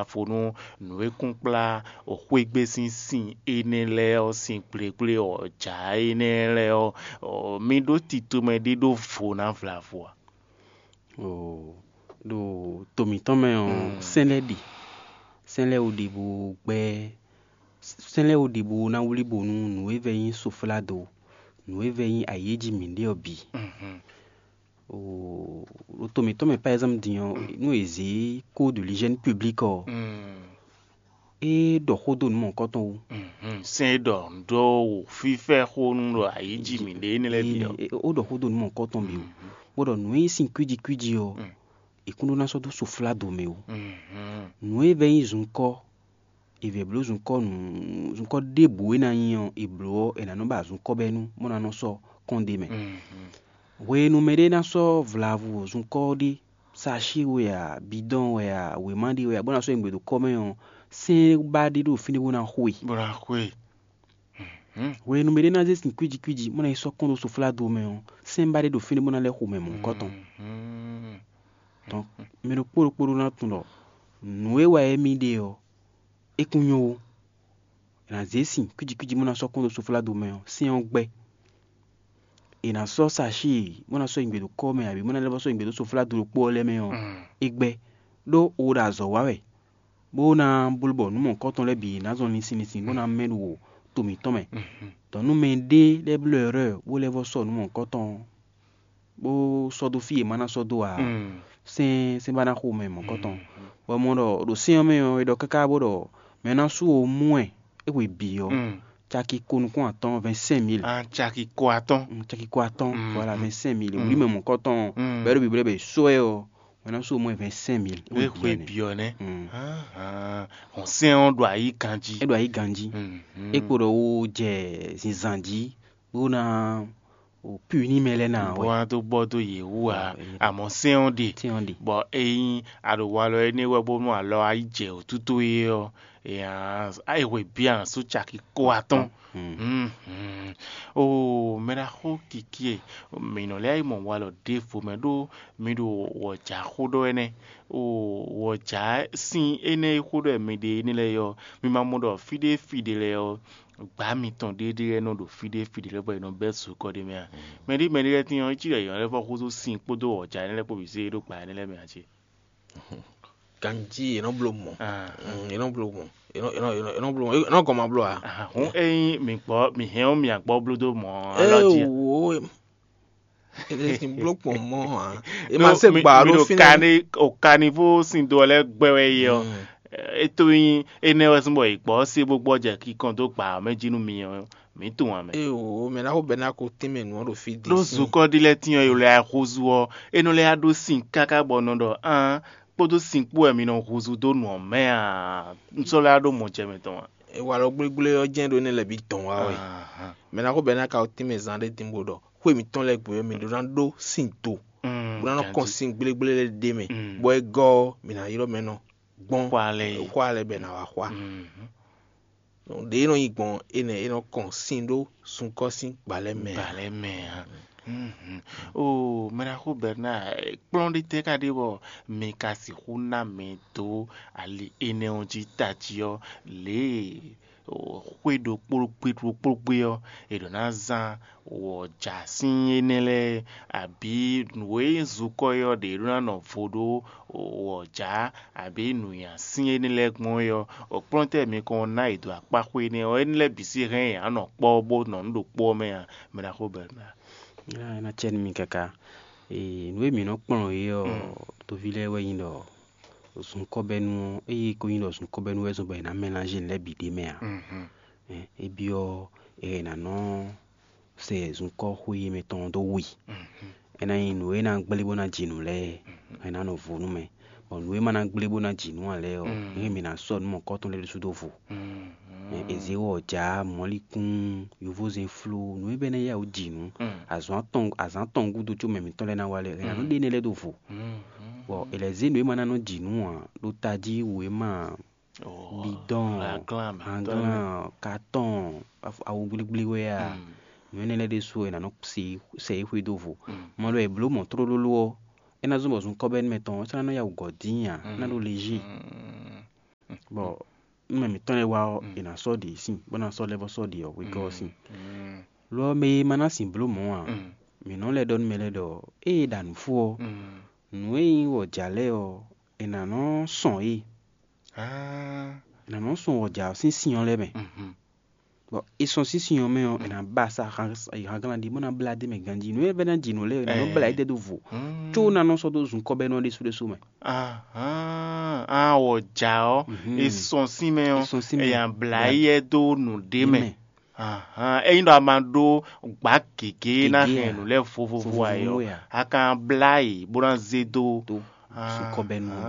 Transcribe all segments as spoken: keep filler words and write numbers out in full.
afo nú nǔ e kún kplá xwégbé sín sin énɛ́ lɛ́ɛ ɔ́, sin gblégblé ɔ́, jǎ énɛ́ lɛ́ɛ ɔ́, mi ɖó tito mɛ ɖé ɖó vo ná vlavo a? Oo, ɖo to mǐtɔn mɛ ɔ́, sɛ́n lɛ́ɛ ɖe, sɛ́n lɛ́ɛ wo ɖe bo gbɛ́, sɛ́n lɛ́ɛ wo ɖe bo ná wlí bo nú nǔ e vɛ́ nyí sofládo, nǔ e vɛ́ nyí ayǐ e jí mǐ ɖe ɔ́ bǐ. Oo, ɖo to mǐtɔn mɛ par exemple din ɔ́, nú è zě code de l'hygiène publique ɔ́, é ɖɔ xó dó nǔ mɔ̌hunkɔtɔn wú. Sɛ́n e ɖɔ nǔ ɖó fífɛ́ xó nú ɖo ayǐ jí mǐɖée énɛ́ lɛ́ɛ bǐ ɔ́. É- é- ó ɖɔ xó dó nǔ mɔ̌hunkɔtɔn bǐ wú, bó ɖɔ nǔ e nyí sin kwíji kwíji ɔ́, è kún ɖó ná sɔ́ dó sofládo mɛ wú. Nǔ e vɛ́ nyí zunkɔ́, è vɛ̌ bló zunkɔ́ nǔ, zunkɔ́ ɖěbǔ e ná nyí ɔ́, è blǒ ɔ́, è nǎ nɔ́ ba zunkɔ́ bɛ́ nú bó ná nɔ́ sɔ́ kɔn ɖ'é mɛ. Hwenu mɛɖé ná sɔ́ vlavo zunkɔ́ ɔ́ ɖe, sashi wɛ a, bidɔn wɛ a, wěma ɖé wɛ a, bó ná sɔ́ nyi gbe ɖo kɔ́ mɛ ɔ́, sɛ́n ba ɖé ɖo fínɛ́ bó ná xo e. Bó ná xo e. Hwenu mɛɖé ná zé sin kwíji kwíji, bó ná yi sɔ́ kɔn ɖó sofládo mɛ ɔ́, sɛ́n ba ɖé ɖo fínɛ́ bó ná lɛ́ xo mɛ mɔ̌hunkɔtɔn. Donc, mɛ ɖokpó ɖokpó ɖó ná tunwun ɖɔ nǔ e wa émí ɖe ɔ́, é kún nyɔ́ ó. È nǎ zě sin kwíji kwíji bó ná sɔ́ kɔn ɖó sofládo mɛ ɔ́, sɛ́n ɔ́ gbɛ́. È nǎ sɔ́ sashi bó ná sɔ́ nyi gbe ɖo kɔ́ mɛ abǐ bó ná lɛ́ vɔ́ sɔ́ nyi gbe ɖó sofládo ɖokpó ɔ́ lɛ́ɛ mɛ ɔ́, é gbɛ́. Ɖó o ɖo azɔ̌ wa wɛ, bó ná bló bɔ nǔ mɔ̌hunkɔtɔn lɛ́ɛ bǐ ná zɔn linsin linsin bó ná mɛ ɖo to mǐtɔn mɛ. Dɔ̌ nú mɛɖé lɛ́ɛ bló erreur bó lɛ́ vɔ́ sɔ́ nǔ mɔ̌hunkɔtɔn ɔ́, bó sɔ́ dó fí e è ma ná sɔ́ dó ǎ, sɛ́n sɛ́n ba ná xo mɛ mɔ̌hunkɔtɔn. Bɔ mɔ ɖɔ ɖo sɛ́n ɔ́ mɛ ɔ́, è ɖɔ káká bó ɖɔ mɛ ná sú wo mú wɛ é hwe bǐ ɔ́, caki ko nukún atɔ́ɔ́n, vingt cinq mille. Caki ko atɔ́ɔ́n. Caki ko atɔ́ɔ́n, voilà, vingt cinq mille. Wǔ mɛ mɔ̌hunkɔtɔn bɛ́ ɖo bǐblɛ́ bɛ sɔ́ ɛ ɔ́, mɛ ná sú wo mɔ vingt cinq mille. É hwe bǐ ɔ́ nɛ́. Hɔn sɛ́n ɔ́ ɖo ayǐ ganjí. É ɖo ayǐ ganjí. É kpo ɖɔ wo jɛ zinzan jí bó ná o puni mɛ lɛ́ɛ ná bó wɛ. Ná dó bɔ dó yě wú ǎ. Amɔ̌ sɛ́n ɔ́ ɖe. Sɛ́n ɔ́ ɖe. Bɔ ényí a ɖo walɔ énɛ́ wɛ bónú alɔ wá yi jɛ wǔtútú é ɔ́, é hwe bǐ a nǎ sú caki ko atɔ́ɔ́n. Oo, mɛ ɖaxó Kikie, mǐ nɔ lɛ́ yi mɔ walɔ ɖěvo mɛ ɖó mi ɖo wɔ̌jǎ xó ɖɔ wɛ nɛ́. Oo, wɔ̌jǎ sín énɛ́ e xó ɖɔ mi ɖe énɛ́ lɛ́ɛ ɔ́, mi ma mɔ ɖɔ fí ɖé fí ɖé lɛ́ɛ ɔ́, gbǎ mitɔn ɖéɖé lɛ́ɛ nɔ ɖo fí ɖé fí ɖé lɛ́ɛ bɔ è nɔ bɛ́ zokɔ ɖé mɛ a? Mɛ ɖé mɛ ɖé lɛ́ɛ tín ɔ́, é cí ɖɔ è nɔ lɛ́ vɔ húzú sin kpódó wɔ̌jǎ énɛ́ lɛ́ɛ kpó bǐ zé ɖó gbǎ énɛ́ lɛ́ɛ mɛ a cé? Ganjí è nɔ bló mɔ. Ah. Mm, è nɔ bló mɔ. È nɔ, è nɔ, è nɔ, è nɔ bló mɔ. È nɔ gɔn ma bló a? Ah, hǔn ényí mǐ gbɔ mǐ hɛn ɔ́ mǐ gbɔ bló dó mɔ alɔ jí. Wo è lè sin bló kpɔn mɔ a? È ma se gbà ɖó fínɛ́. Kani o kani fó sin do lɛ́ɛ gbɛ wɛ yɛ ɔ́. É tó nyí énɛ́ wɛ sín bɔ è gbɔ ɔ́ se bó gbɔ jɛ kikɔn dó gbǎ ɔ́ mɛ jí nú mi ɔ́, mǐ tunwun ǎ mɛ. Ée o, mɛ ná xo bɛ́ ná ko tɛ́nmɛ nǔ ɔ́ ɖo fí din. Ɖó zukɔ́ ɖi lɛ́ɛ tín ɔ́, è lɛ axozu ɔ́, é nɔ lɛ́ yá ɖó sin káká bɔ nɔ ɖɔ án kpódó sin kpó wɛ mi nɔ huzu dó nǔ ɔ́ mɛ a? Un sɔ́ lɛ́ yá ɖó mɔ jɛ mɛ tɔn a? Walɔ gblégblé ɔ́ jɛ́n ɖó énɛ́ lɛ́ɛ bǐ dɔn wá wɛ. Mɛ ná xo bɛ́ ná ka tɛ́nmɛ zan ɖé din bó ɖɔ xwé mǐtɔn lɛ́ɛ gbe ɔ́, mǐ ɖó ná ɖó sin do, bó ná nɔ kɔn sin gblégblé lɛ́ɛ ɖ'é mɛ, bɔ é gɔ́ ɔ́, mǐ ná ylɔ́ mɛ nɔ gbɔn xwá lɛ́ɛ bɛ è nǎ wá xwá. Ɖě e nɔ nyi gbɔn énɛ́, é nɔ kɔn sin ɖó sunkɔ́ sín gbalɛ́ mɛ ǎ. Gbalɛ́ mɛ ǎ. Oo, mɛɖaxó Bernard, kplɔ́n ɖé tɛ́ ka ɖe bɔ mi ka sixú ná mɛ dó ali énɛ́ ɔ́ jí tají ɔ́, lě e xwé ɖokpó gbé ɖokpó gbé ɔ́, è ɖǒ ná zán wɔ̌jǎ sín énɛ́ lɛ́ɛ, abǐ nǔ e nyí zukɔ́ é ɔ́ ɖě ɖó ná nɔ vo ɖó wɔ̌jǎ, abǐ nǔnywɛ́ sín énɛ́ lɛ́ɛ gbɔn é ɔ́, kplɔ́ntɛ́ mi kɔn ná yě dó akpá xwé énɛ́ ɔ́, énɛ́ lɛ́ɛ bǐ sín hɛn yě á nɔ kpɔ́ bó nɔ nǔ ɖokpó ɔ́ mɛ a? Mɛ ɖaxó Bernard. É ná cɛ nú mi káká. Ee, nǔ e mǐ nɔ kplɔ́n é ɔ́, toví lɛ́ɛ wɛ nyí ɖɔ zunkɔ́bɛ́nú ɔ́, ée ko nyí ɖɔ zunkɔ́bɛ́nú wɛ zɔ́n bɔ è nǎ mɛláze nǔ lɛ́ɛ bǐ ɖ'é mɛ a? É byɔ́ è nǎ nɔ sɛ zunkɔ́ xwé mɛtɔn ɔ́ dó wi. É ná nyí nǔ e ná gblé bó ná ji nǔ lɛ́ɛ, è nǎ nɔ vo nú mɛ. Bɔ nǔ e ma ná gblé bó ná ji nǔ ǎ lɛ́ɛ ɔ́, é mǐ ná sɔ́ nǔ mɔ̌kɔ́tɔn lɛ́ɛ ɖésú dó vo. Ezewɔ́, jǎ, mɔ̌likún, yovózɛn fló, nǔ e bɛ́ ná yá wǔ ji nǔ. Azɔ̌ atɔn azǎn atɔn gúdo có mɛ mǐtɔn lɛ́ɛ ná wá lɛ́ɛ, è nǎ nɔ ɖe énɛ́ lɛ́ɛ dó vo. Bɔ è lɛ̌ zé nǔ e ma ná nɔ ji nǔ ǎ ɖo tají wěma, bidɔn, hanglán, katɔn, awu gblígblí wɛ a, nǔ énɛ́ lɛ́ɛ ɖésú è nǎ nɔ sɛ yi xwedó vo. Mɔ ɖɔ è blǒ mɔ̌ tlólóló ɔ́, é ná zɔ́n bɔ zunkɔ́bɛ́nú mɛtɔn ɔ́, é ná nɔ yá wǔ gɔ̌ dín ǎ, é ná ɖó lejée. Bɔ nú mɛ mǐtɔn lɛ́ɛ wá ɔ́, è nǎ sɔ́ ɖě sin, bó ná sɔ́ lɛ́ vɔ́ sɔ́ ɖě ɔ́ wegɔ́ ɔ́ sin. Lɔ ɔ́, mɛ e ma ná sin blǒ mɔ̌ ǎ, mǐ nɔ lɛ́ ɖɔ nú mɛ lɛ́ɛ ɖɔ ée è ɖa nǔ fó ɔ́, nǔ e nyí wɔ̌jǎ lɛ́ɛ ɔ́, è nǎ nɔ sɔn yě. È nǎ nɔ sɔn wɔ̌jǎ ɔ́ sín sin ɔ́ lɛ́ɛ mɛ. Bɔ è sɔn sín sin ɔ́ mɛ ɔ́, è nǎ ba sa hanglán ɖi bó ná blá d'é mɛ ganjí. Nǔ e vɛ́ ná ji nǔ lɛ́ɛ, è nǎ nɔ blá yě dɛ́ dó vo, có ná nɔ sɔ́ dó zun kɔ́bɛ́nú ɔ́ ɖésú ɖésú mɛ. Ahán, á wɔ̌jǎ ɔ́, è sɔn sín mɛ ɔ́, è nǎ blá yɛ dó nǔɖé mɛ. Ahán, ényí ɖɔ a ma ɖó gbǎ gěgé ná hɛn nǔ lɛ́ɛ vovovo ǎ ɔ́, a ka blá yě bó ná zé dó zunkɔ́bɛ́nú ɔ́.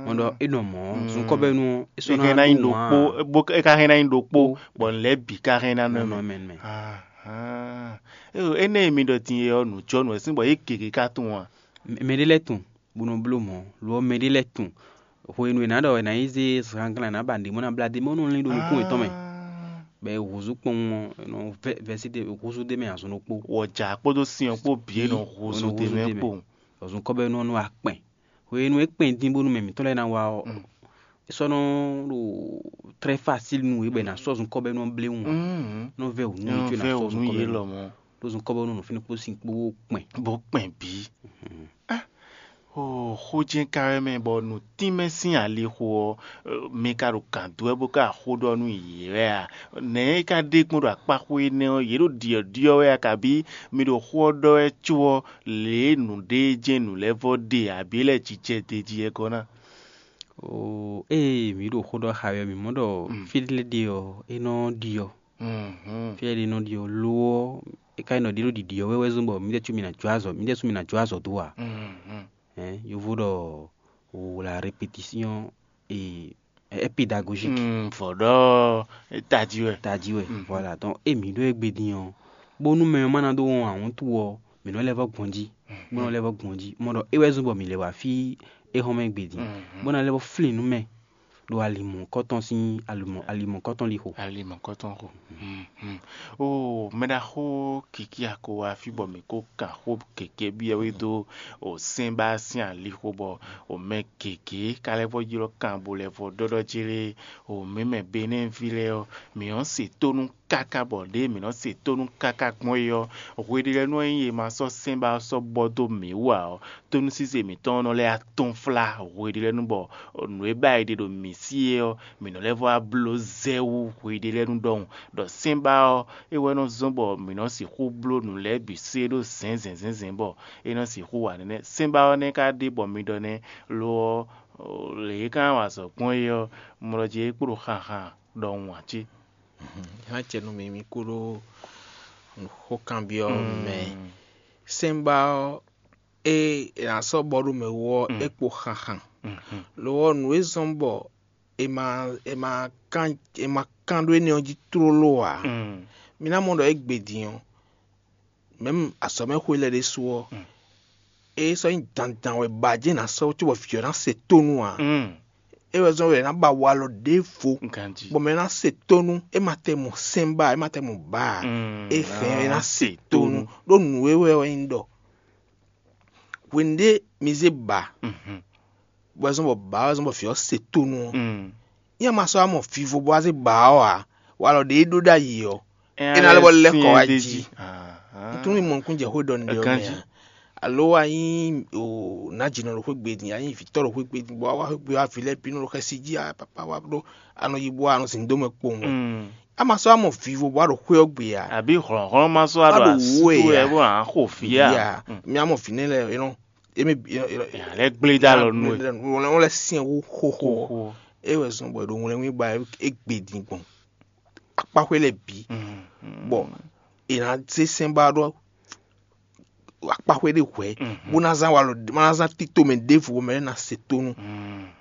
Mɔ ɖɔ é nɔ mɔ̌, zunkɔ́bɛ́nú ɔ́, é sɔ́ ná hɛn ná nyí ɖokpó, bó é ka hɛn ná nyí ɖokpó, bɔ nǔ lɛ́ɛ bǐ ka hɛn ná nɔ mɛ. Ahán, énɛ́ e mi ɖɔ din é ɔ́, nǔjɔnǔ wɛ sín bɔ yě gěgé ka tunwun a? Mɛ ɖé lɛ́ɛ tunwun, bó nɔ bló mɔ̌, lo ɔ́, mɛ ɖé lɛ́ɛ tunwun. Hwenu e è nǎ ɖɔ è nǎ yi zé zǎnglán è nǎ ba nǔɖé mɔ ná blá d'é mɛ, é nɔ lín ɖo nukún yětɔn mɛ. Bɔ è húzú kpɔ́n ɔ́, è nɔ vɛ́ vɛ́sín ɖé húzú d'é mɛ azɔn ɖokpó. Wɔ̌jǎ kpódó sin ɔ́ kpó bǐ è nɔ húzú d'é mɛ kpowun. Bɔ zunkɔ́bɛ́nú ɔ́ nɔ wá kpɛn. Hwenu e é kpɛn dín bónú mɛ mǐtɔn lɛ́ɛ ná wá ɔ́, é sɔ́ nɔ ɖo très facile nú yě bɔ è nǎ sɔ́ zunkɔ́bɛ́nú ɔ́ bléwún ǎ. Nɔ vɛ́ wǔ nú yě có è nǎ sɔ́ zunkɔ́bɛ́nú. Ɖó zunkɔ́bɛ́nú nɔ fínɛ́ kpó sin kpó kpɛn. Bó kpɛn bǐ. Ó, xó jɛ́n ka wɛ mɛ bɔ nǔtínmɛ sín alixo ɔ́, mi ka ɖo gǎn dó wɛ bó ka xó ɖɔ nú yě wɛ a? Nɛ̌ é ka ɖe gbɔn ɖo akpáxwé énɛ́ ɔ́, yě ɖo ɖyɔ̌ɖyɔ́ wɛ a, kabí mi ɖo xó ɔ́ ɖɔ wɛ có ɔ́, lě e nǔɖé jɛ́n nǔ lɛ́ɛ vɔ ɖe abǐ é lɛ́ jijɛ d'é jí wɛ gɔ́ ná? Oo, ée mǐ ɖo xó ɖɔ xá wɛ ɔ́, mǐ mɔ ɖɔ fí lɛ́ɛ ɖe ɔ́, é nɔ ɖi ɔ́. Fí lɛ́ɛ ɖe nɔ ɖi ɔ́, lo ɔ́, é ka nyí nɔ ɖi ɖo ɖiɖi ɔ́ wɛ wɛ zɔ́n bɔ mǐdɛɛ sú mǐ ná jó azɔ̌, mǐdɛɛ sú mǐ ná jó azɔ̌ dó ǎ. Ɛ̌, yovo ɖɔ la répétition et est pédagogique. Vɔ̌ ɖɔ tají wɛ. Tají wɛ. Voilà, donc é mǐ ɖó égbé din ɔ́, bónú mɛ ɔ́ má ná dó wɔn awǔntu ɔ́, mǐ nɔ lɛ́ vɔ́ gbɔn jí, bó nɔ lɛ́ vɔ́ gbɔn jí. Mɔ ɖɔ é wɛ zɔ́n bɔ mǐ lɛ́ wá fí éhɔ́nmɛ égbé din, bó ná lɛ́ vɔ́ flín nú mɛ ɖo ali mɔ̌hunkɔtɔn sín ali mɔ̌hunkɔtɔn lixo. Ali mɔ̌hunkɔtɔn xo. Oo, mɛɖaxó Kiki Akowa fí bɔ mǐ ko kan xó gěgé byɔ́ wé dó o sɛ́nbá sín alixo bɔ o mɛ gěgé ka lɛ́ vɔ́ ylɔ́ kan bo lɛ́ vɔ́ ɖɔ́ɖɔ́ jlé o mǐ mɛ Benɛ́ɛví lɛ́ɛ ɔ́, mǐ nɔ́ se tónú káká bɔ ɖěe mǐ nɔ́ se tónú káká gbɔn é ɔ́, hweɖélɛ́nú e nyí e ma sɔ́ sɛ́nbá ɔ́ sɔ́ bɔ dó mǐ wú ǎ ɔ́, tónúsísɛ mǐtɔn ɔ́ nɔ lɛ́ atɔ́nflá hweɖélɛ́nú bɔ nǔ e ba è ɖe ɖo mǐ sí é ɔ́, mǐ nɔ lɛ́ vɔ́ wá bló zɛ wú hweɖélɛ́nú ɖɔhun, ɖɔ sɛ́nbá ɔ́, é wɛ nɔ zɔ́n bɔ mǐ nɔ sixú bló nǔ lɛ́ɛ bǐ sé ɖó zɛ̌nzɛ̌nzɛ̌nzɛ̌n bɔ é nɔ sixú wa nɛnɛ́. Sɛ́nbá ɔ́ nɛ́ ka ɖe bɔ mi ɖɔ nɛ́, lo ɔ́, lě e é ka wa azɔ̌ gbɔn é ɔ́, mlɔ jí é kpo ɖo xanxan ɖɔhun ǎ cé? Ná jɛ nú mi, mi kú ɖó xókanbyɔ́ mɛ. Sɛ́nbá ɔ́, é è nǎ sɔ́ bɔ ɖó mɛ wú ɔ́, é kpo xanxan. Lo ɔ́, nǔ e zɔ́n bɔ è ma è ma kán è ma kán ɖó énɛ́ ɔ́ jí tlóló ǎ. Mi ná mɔ ɖɔ égbé din ɔ́, mɛ̌m azɔ̌mɛxwé lɛ́ɛ ɖésú ɔ́, é sɔ́ nyí dandan wɛ ba jɛ́n è nǎ sɔ́ cóbɔ vǐ ɔ́ ná se tónú ǎ. É wɛ zɔ́n wɛ è nǎ ba walɔ ɖěvo, bɔ mɛ ná se tónú, é ma tɛ mɔ sɛ́nbá, é ma tɛ mɔ bǎ ǎ. É hɛn é ná se tónú, ɖó nǔ e wɛ wɛ nyí ɖɔ hwenu ɖé mi zé bǎ, bɔ é zɔ́n bɔ bǎ ɔ́ zɔ́n bɔ vǐ ɔ́ se tónú ɔ́, nyɛ ma sɔ́ wá mɔ vivo bó wá zé bǎ ɔ́ ǎ, walɔ ɖě e ɖó ɖ'ayǐ ɔ́, é ná lɛ́ bɔ lɛ́ kɔ wá jí. Un tunwun mɔ nukúnnú jɛ xó ɖɔ nǔɖé ɔ́ mɛ ǎ. Alo wá nyí nǎjínɔ ɖo xwé gbe din, a nyí vǐtɔ́ ɖo xwé gbe din, bɔ wá wá xwé gbe wá vǐ lɛ́ɛ bǐ nɔ ɖo xɛsi jí, a papa wá ɖó a nɔ yi bó a nɔ zǐn dó mɛ kpowun wɛ. A ma sɔ́ wá mɔ vivo bó wá ɖo xwé ɔ́ gbe ǎ. Àbí hlɔ̌nhlɔ́n ma sɔ́ wá ɖo asú wɛ bó ná xo vǐ a? Mía mɔ vǐ nɛ́ lɛ́ɛ é nɔ émí lɛ́ gblé dó alɔ nú ɛ. Wọ́n lɛ́ syɛ́n wú xóxó. É wɛ zɔn bɔ è ɖo ŋlɛ́ wín ba é gbe din gbɔn akpáxwé lɛ́ɛ bǐ, bɔ è nǎ zé sɛ́n ba ɖɔ akpáxwé ɖé hwɛ̌, bó ná zán walɔ, bó ná zán tito mɛ ɖěvo bɔ mɛ lɛ́ɛ ná se tónú.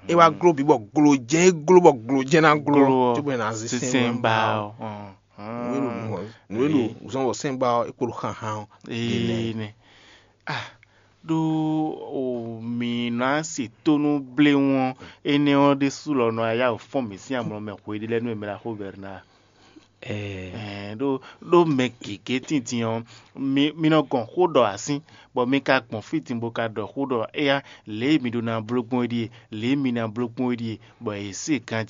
É wá gló bǐ bɔ glojɛ́n é gló bɔ glojɛ́n ná gló, cóbɔ è nǎ zé sɛ́n ba ɔ́. Nǔ e ɖo zɔn bɔ sɛ́n ba ɔ́ é kpo ɖo xanxan ɔ́. Ee nɛ. Ah, ɖó o mǐ ná se tónú bléwún ɔ́, énɛ́ ɔ́ ɖésú lɔ nɔ yá wǒ fɔ́n mǐ sín amlɔ mɛ hweɖé lɛ́ɛ nú e mɛ ɖo axó Bɛrnáa. Ɛɛ ɖó ɖó mɛ gěgé tíntín ɔ́, mi mi nɔ gɔn xó ɖɔ asín, bɔ mi ka gbɔn fí din bó ka ɖɔ xó ɖɔ éyá lě e mi ɖó ná bló gbɔn é ɖíe, lě e mi ná bló gbɔn é ɖíe, bɔ è se ganjí.